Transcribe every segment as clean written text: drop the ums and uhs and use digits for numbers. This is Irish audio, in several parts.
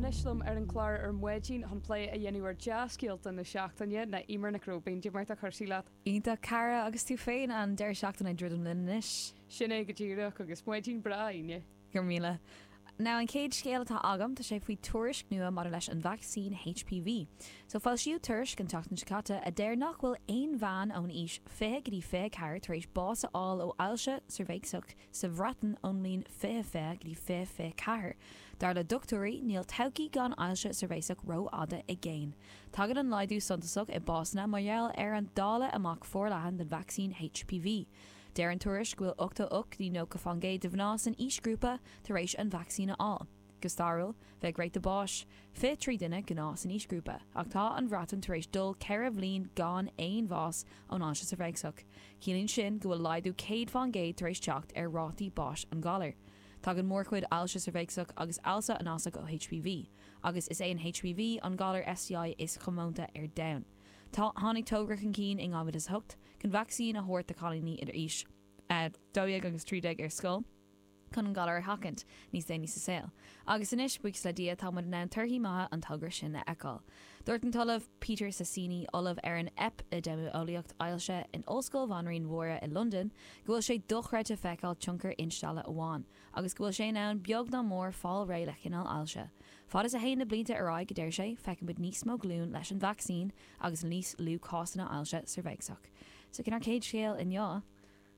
Anois liom ar an chlár ar maidin chun plé a dhéanamh ar dea-scéalta na seachtaine ná Eimear Nic Róibín. Cad é mar atá cúrsaí leat? Iontach, cara, agus tú féin? An deireadh seachtaine ag druidim linn anois. Sin é go díreach, agus maidin breá Aoine. Go raibh míle. Now an chéad scéal atá agam, tá sé faoi tuairisc nua maidir leis an vacsaín HPV. So foilsíodh tuairisc an tseachtain seo caite a deir nach bhfuil aon bhean ón aois 20 go dtí 24 tar éis bás a fháil ó ailse ceirbheacsach sa Bhreatain ón mbliain 2020 go dtí 2024. Dar le dochtúirí, níl todhchaí gan ailse ceirbheacsach rófhada i gcéin. Tagann an laghdú suntasach i básanna mar gheall ar an dáileadh amach forleathan den vacsaín HPV. Deir an tuairisc go bhfuil 88 go dtí 90 fán gcéad de mhná san aoisghrúpa tar éis an vacsaín a fháil. Go stairiúil, bheadh ráta báis 23 duine gnáth san aoisghrúpa, ach tá an Bhreatain tar éis dul 4 bhliain gan aon bhás ón ailse ceirbheacsach. Ciallaíonn sin go bhfuil laghdú 100 fán gcéad tar éis teacht ar rátaí báis an ghalair. Tagann mórchuid ailse ceirbheacsach agus ailse anásach ó HPV, agus is é an HPV an galar STI is comónta ar domhan. Tá tháinig togra chun cinn in 2008 chun vacsaín a thabhairt do chailíní idir aois 12 agus 13 ar scoil chun an galar a sheachaint níos déanaí sa saol. Agus anois, buíochas le Dia, tá muid in ann torthaí maithe an togra sin a fheiceáil. Dúirt an tOllamh Peter Sasieni, Ollamh ar an Eipidéimeolaíocht Ailse in Ollscoil Bhanríon Mháire i Londain, go bhfuil sé dochreidte feiceáil tionchar instealladh amháin, agus go bhfuil sé in ann beag ná mór fáil réidh le cineál ailse. Fad is a théann na blianta ar aghaidh, a deir sé, feicfimid níos mó glún leis an vacsaín agus níos lú cásanna ailse ceirbheacsach. So sin ár chéad scéal inniu.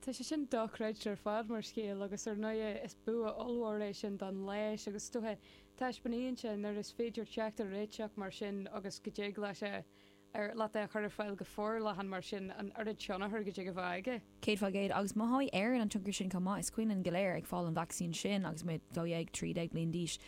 Tá sé sin dochreidte ar fad mar scéal agus ar ndóigh is bua ollmhór é sin don leigheas agus is dócha taispeánaíonn sé nuair is féidir teacht ar réiteach mar sin agus go dtig leis é ar leat é a chur ar fáil go forleathan mar sin an oiread tionchair go dtig a bheith aige. 100% agus mothóidh Éirinn an tionchar sin chomh maith. Is cuimhin linn go léir ag fáil an vacsaín sin agus muid 12, 13 bliain d'aois.